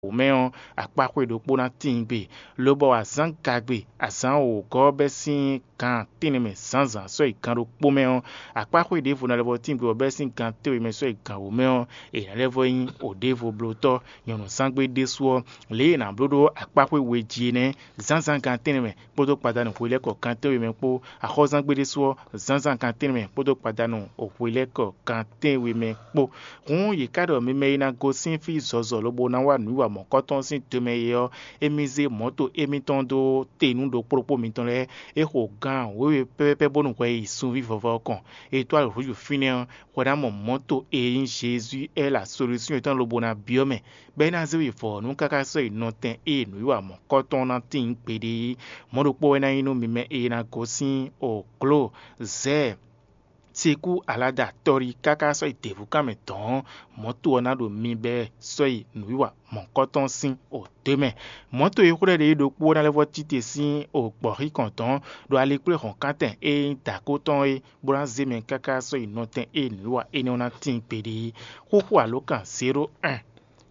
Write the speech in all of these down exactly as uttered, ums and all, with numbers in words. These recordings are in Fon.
wǒ mɛ ɔ́, akpáxwé ɖokpó ná tíin gbe, lobɔ azǎn gagbe, azǎn wǒgɔ́ ɔ́ bɛ́ sín gan tɛ́nnɛ mɛ zǎnzǎn sɔ́ yi gan ɖokpó mɛ ɔ́, akpáxwé ɖěvo ná lɛ́ vɔ tíin gbe bɔ bɛ́ sín gan tɛ́nwe mɛ sɔ́ yi gan wǒ mɛ ɔ́, è nǎ lɛ́ vɔ nyí wǒ ɖěvo blótɔ́. Nyɔ̌nuzángbe ɖésú ɔ́, lě e è nǎ bló ɖó akpáxwé we jí é nɛ́, zǎnzǎn gan tɛ́nnɛ mɛ kpódó gbadanu hwelɛ́kɔ gan tɛ́nwe mɛ kpó, axɔ́zán gbe ɖésú ɔ́, zǎnzǎn gan tɛ́nnɛ mɛ kpódó gbadanu hwelɛ́kɔ gan tɛ́nwe mɛ kpó. Hǔn yě ká ɖɔ mi mɛ e ná gosín fí zɔzɔ lobo ná wá nǔwiwa mɔ̌kɔtɔn sín do mɛ é ɔ́, émí zé mɔ̌to émítɔn dó te nú ɖokpó ɖokpó mitɔn lɛ́ɛ. É xo gan wěwe pɛ́pɛ́pɛ́ bónú hwɛ yi sunví vɔvɔ ɔ́ kɔn. È dó alǒ húzú fínɛ́ ɔ́, hwɛ ná mɔ mɔ̌to e nyí Jezu L Solution tɔn lobo ná byɔ́ mɛ, bɔ é ná zé we vɔ̌ nú káká sɔ́ yi nɔtɛn e nǔwiwa mɔ̌kɔtɔn ná tíin gbeɖé é. Mɔ̌ ɖokpó wɛ ná nyí nú mi mɛ e ná gosín Ogló, Zɛ́ɛ, Sekú Alada tɔ́ɖi káká sɔ́ yi děvúkan mɛ dɔ̌n, mɔ̌to ɔ́ ná ɖo mi bɛ́ sɔ́ yi nǔwiwa mɔ̌kɔtɔn sín odě mɛ. Mɔ̌to e xwlɛ́ ɖe é ɖokpó ná lɛ́ vɔ tite sín ogbɔ̌xíkɔn dɔ̌n ɖo alikpléhɔ̌nkántɛn e nyí dǎkó tɔn é, bó ná zé mɛ káká sɔ́ yi nɔtɛn e nǔwiwa énɛ́ ɔ́ ná tíin gbeɖé é. Xóxó alǒkan zéro un,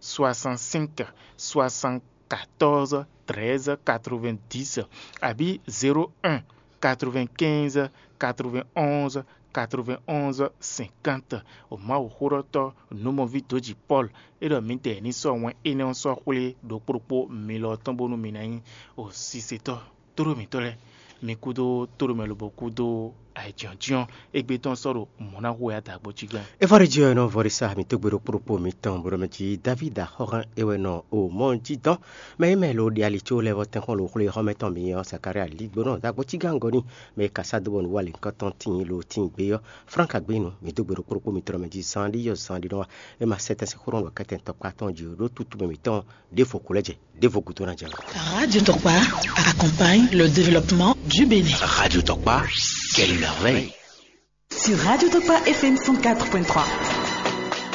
soixante-cinq, soixante-quatorze, treize, quatre-vingt-dix, abǐ zéro un, quatre-vingt-quinze, quatre-vingt-onze, quatre-vingt-onze, cinquante. O Mawuxóɖɔtɔ́ nǔmɔví dǒji Pɔ́lu é ɖɔ mǐdɛɛ ní sɔ́ wɛn énɛ́ ɔ́ sɔ́ xwlé ɖokpó ɖokpó mi lɔ tɔn bónú mi ná nyí o sisetɔ́. Tóɖó mǐtɔn lɛ́ɛ, mi kúdó tóɖó mɛ lobo kúdó ayǐjínjɔ́n égbé tɔn sɔ́ ɖo mɔ̌ ná hu wɛ adǎgbó cí gán. Evɔ́ɖijí ɔ́ nɔ vɔ́ɖísá mi tógbé ɖokpó ɖokpó mitɔn bó ɖɔ mɛ jí Davídi axɔ́hán é wɛ nɔ o mɔ jí dɔn. Mɛ e mɛ lo ɖe ali có lɛ́ vɔ tɛ́nkpɔ́n lo xwlé xɔ́mɛ tɔn mǐ ɔ́, Zakarya lígbónɔ dó agbó cí gán gɔ́ n'i. Mɛ e ka sá dó bɔ nǔ wa lěhunkɔtɔn tíin lo tíin gbé ɔ́, Franka gbé nu, mǐ dó gbe ɖokpó ɖokpó mitɔn mɛ jí zán ɖi yɔ zán ɖi nɔ wá. É ma sɛ́ tɛ́n sín xó nɔ ɖɔ kɛ́tɛn tɔkpá tɔn jí ɖó tutú mɛ mǐtɔn ɖěvo kú lɛ́ jɛ, ɖěvo gúdo ná jɛ. Radio Tokpa accompagne le développement du Bénin. Radio Tokpa, quelle merveille. Sur Radio Tokpa F M cent quatre point trois.